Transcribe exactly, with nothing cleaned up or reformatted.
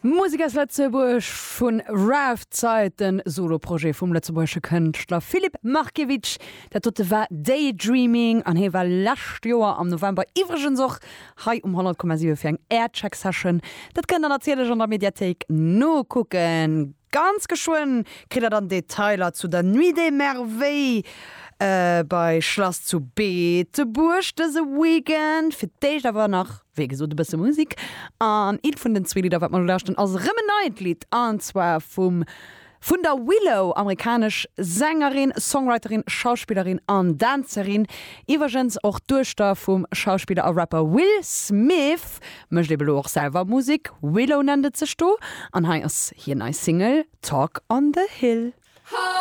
Musek aus Lëtzebuerg vun Raftzeit, den Soloprojet vum lëtzebuergesche Kënschtler Filip Markiewicz. Dat dote war Daydreaming an hie war lescht Joer am November iwwregens och hei um honnert Komma siwe fir eng Aircheck Session. Dat kënnt der natierlech an der Mediathéik nokucken. Ganz geschwënn kritt der dann Detailer zu der Nuit des Merveilles bei Schlass zu Beetebuerg dëse Weekend. Fir d'éischt awer nach, wéi gesot, e bësse Musek. An eent vun den zwee Lidder, wat mer elo lauschteren, ass erëm en neit Lidd, an zwar vum vun der Willow, amerikanesch Sängerin, Songwriterin, Schauspillerin an Dänzerin, iwwergens och d'Duechter vum Schauspiller a Rapper Will Smith, mécht ebe lo och selwer Musek, Willow nennt et sech do, an hei ass hir nei Single Talk on the Hill.